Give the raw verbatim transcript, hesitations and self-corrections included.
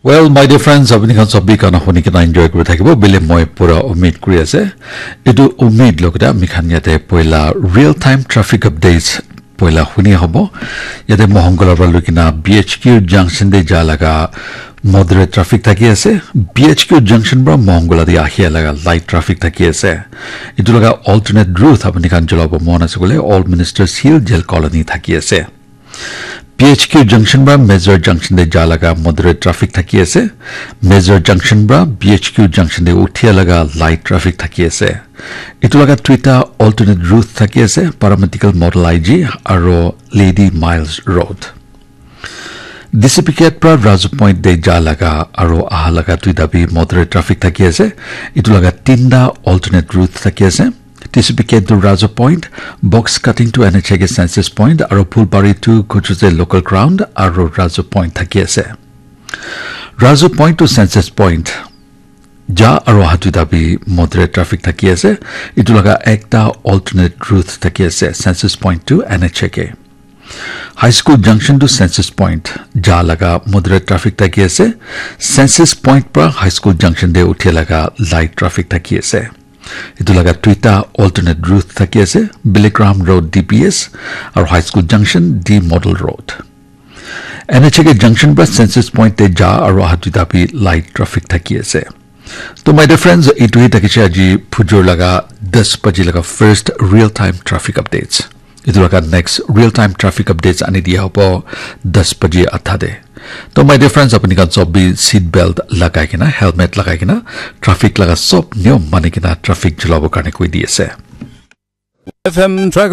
Well, my dear friends, apni khan sob bi gana huni kena enjoy kuri thakibo bile moi pura umid kuri ase. Etu umid logete ami khan yate poila real time traffic updates poila huni hobo. Yate Mohongkola para lui kena B H Q junction te ja laga moderate traffic thaki ase. B H Q junction para Mohongkola te ahia laga light traffic thaki ase. Etu laga alternate route apni khan jalabo mon ase koile Old Ministers Hill Jail Colony thaki ase. B H Q junction para Major junction te ja laga moderate traffic thaki ase. Major junction para B H Q junction te uthia laga light traffic thaki ase. Etu laga duita alternate route thaki ase, Paramedical Model I G aro Lady Miles Road. D C P Gate para Razu Point te ja laga aro aha laga duita bi moderate traffic thaki ase. Etu laga tinta alternate route thaki ase. T C P Gate to Razu Point, Box Cutting to N H A K Census Point, aro Phulbari to Kuchuse Local Ground, aro Razu Point thaki ase. Razu Point to Census Point, ja aro aha duita bi moderate traffic thaki ase. Etu laga ekta alternate route thaki ase, Census Point to N H A K. High School Junction to Census Point, ja laga moderate traffic thaki ase. Census Point para High School Junction te uthia laga light traffic thaki ase. Etu laga duita alternate route thaki ase, Billy Graham Road D P S aro High School Junction D Model Road. N H A K junction para Census Point te ja aro aha duita bi light traffic thaki ase. To my dear friends, etu hi thakise aji phujor laga das baji laga first real time traffic updates. Etu laga next real time traffic updates ani dia hobo das baji adha te. To my dear friends, apni khan sob bi seat belt lagai kena, helmet lagai kena, traffic laga sob niyom mani kena traffic chalabo karne koi di ase. F M Tracker